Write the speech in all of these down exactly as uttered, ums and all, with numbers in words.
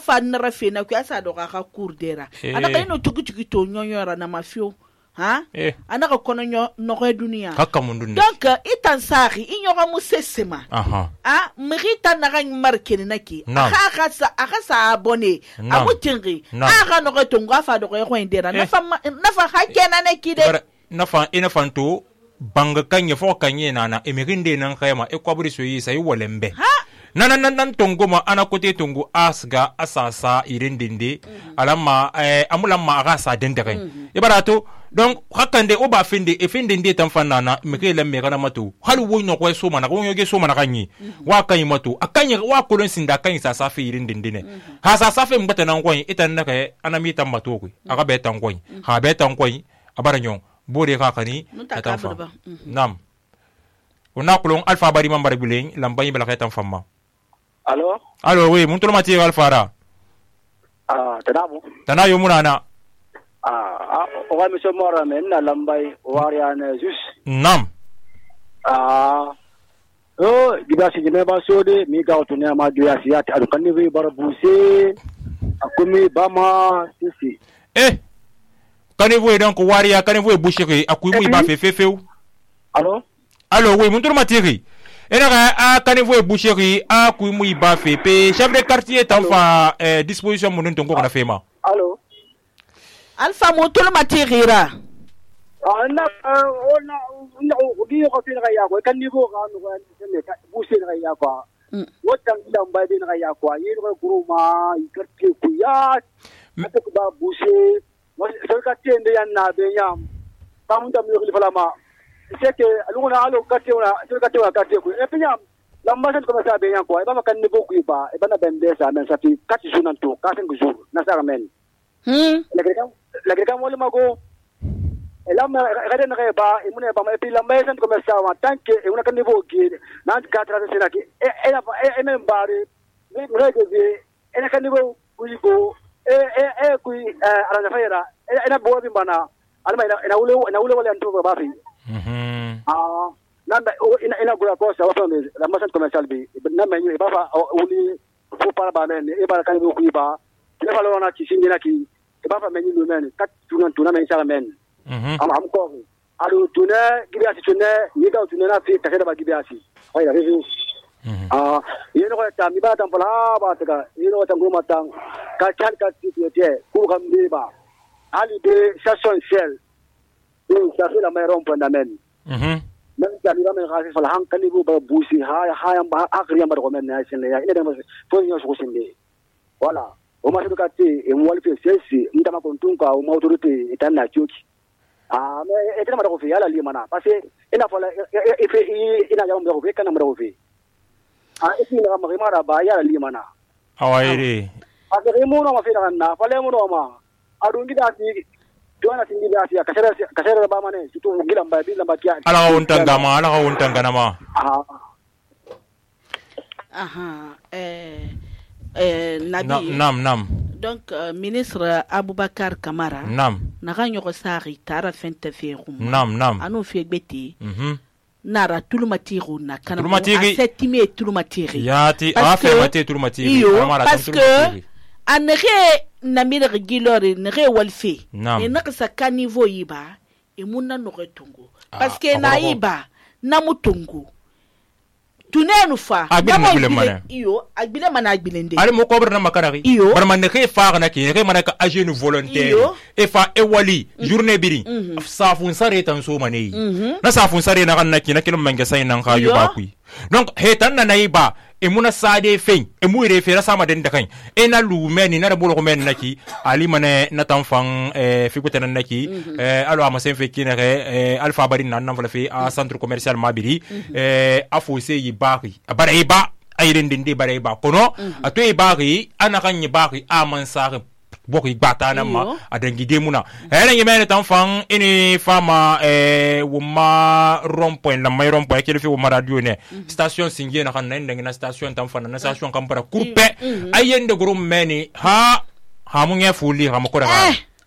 fa nara fe na ku asa do ga ka kurdera ana ka ino tugu tugu to nyonyora na mafio ha ana ka kono nyo no re dunia hakka mun dunia donc itan sari inyora mu sesema aha ah mrita na ga markene naki aka ka sa aka sa abonné amutingi aka no ka tonga fa do ko indera na fa na fa hakena naki de na fa ina fanto banga kanye fo kanye nana emirinde nan khayma e kwabri soyi sai walembe nana nan nan tongo ma ana kote tongo asga asasa irindinde mm-hmm. alama eh, amulamma aga sa dendere mm-hmm. ibarato donc hakande o ba finde e finde ndi tan fanana meke lemme kana mato halu wo no ko so mana ko yoge so mana kanyi mm-hmm. wa kanyi mato akanyi wa kolon sinda kanyi sa sa fe irindinde ne mm-hmm. ha sa sa fe mbata nan koyi itan naka anami tan mato ko mm-hmm. aga be tan koyi mm-hmm. ha be tan koyi abara nyon bore ka kani tan fa mm-hmm. nam ona kolon alfa bari mambar bilen lambayi bala kay tan famma. Allô? Allô, oui, mon tour matière Alfara. Ah, tanamu. Tanayo munana. Ah, o ga monsieur Mora men na lambai wariane jus. Nam. Ah. Oh, gibasi jeme ba sode mi ga otune ma doya siyati adu kanni we barabuse. Akumi bama sisi. Eh. Kanni donc waria kanni vous boucherie akumi ba fe fefeu. Allô? Allô, oui, mon tour matière. Ena a kanevo e boucherie a ku mu iba fe pe chef de quartier tan fa eh, disposition mun ton ko na fema. Allô? Alpha moto le matirira. Ah na ona na ubi ko tin ga ya ko kan niveau ga no ga ne ka boucher ga ya ko. Wotan ila mba din ga ya ko yi ko grouma i quartier ku ya. Mata ko ba boucher mo so ka tende yan na be yam. Tamun da mi ko falama. C'est que aluna alo kati ona to kati wa kati ku e pinya lamba sen ko sa be yan ko e ba kan ni boku ba e bana bende sa men sa ti kati sunan to ka sen jour na sa men hm la greka la greka mo le mago e lam reden re ba e mun e ba e pi lamba sen ko sa wa tanke e una kan ni boku na ka tra se na ki e e e men bare ni re ge e na kan ni boku ko e e e ku ara na fera e na bo bi bana alma ina ule ina ule wala nto ba fi. Mhm. Ah, nanda ina ina gura ko sa waso me la masan commercial bi na me ni ba fa uli fu para ba men e ba kan ku ba le fa lo na ci singi na ki e ba fa me ni lu men kat tunan tunan men sa men. Mhm. Am am ko alu tuna gibi asi tuna ni ga tuna na fi ta da ba gibi asi ai da reju. Mhm. Ah, yeno ko ta mi ba tan pala ba ta ga yeno ta ngoma tan ka kan ka ti ti ku kam bi ba ali de station sel. Ça fait la meilleure fondament. Mhm. Même si on a un rafale han kan bu ba busi ha ha ba akriya ba ko men na sin ya ina da fo nyo so sin de voilà o ma to kati e mo walfe sesi nda ma kon tunka o ma autorité itan na choki ah mais e tena ma ko fi ala li mana parce que ina fola e fe ina ya mo ko fe kana mo ko fe ah e ina ma ma ba ya li mana awaire a ke mo no ma fe na fa le mo no ma adu ngi da ti Tuana singi biasa kasera kasera ba mane situ gila mba bila mba kia ala untanga ma ala untanga na ma aha aha eh eh nabi nam nam donc uh, ministre Aboubakar Kamara nam naka nyoko sari tara fente ferum nam nam anu fe gbeti mhm nara tulumatiru na kana Tulumatiri. setime tulumatiri yati a fe mate tulmatiri parce que anere na mire gilore nere walfe e na sa kanivo yiba e munna no retungo parce que na yiba na mutungo tunenu fa na iyo agbile mana agbilende ale mo kobre na makarari barman ne ke fa na ki ne mana ka agent volontaire e fa e wali journée biri sa fun sare tan so mane na sa fun sare na kan na ki na kilo manga sai nan ka yu ba ku donc hetan na yiba e muna sade fein e mu refera sama den da kan e na lu meni na bolo men naki ali mane na tan fan e fi kutana naki e alo ama sen fe kine re alpha bari nan nan fi a centre commercial mabiri e afo se yi bari bara e ba ayren dinde bara e ba kono ato e bari ana kan yi bari aman sare boki gbata na ma adangi demuna hele yemene tan fan ini fama eh wuma rond-point la may rond-point kele fi wuma radio ne station singie na kan nan na station tan fan na station kan para coupe ayende grum meni ha ha mu ngefuli ha makora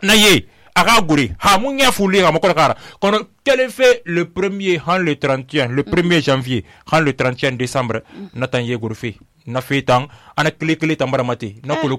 na ye aga guri ha mu ngefuli ha makora kara kono quel fait le premier han le trente et un le premier janvier han le trente et un décembre natan ye gurfi na fetan ana kle kle tambara mate na kulu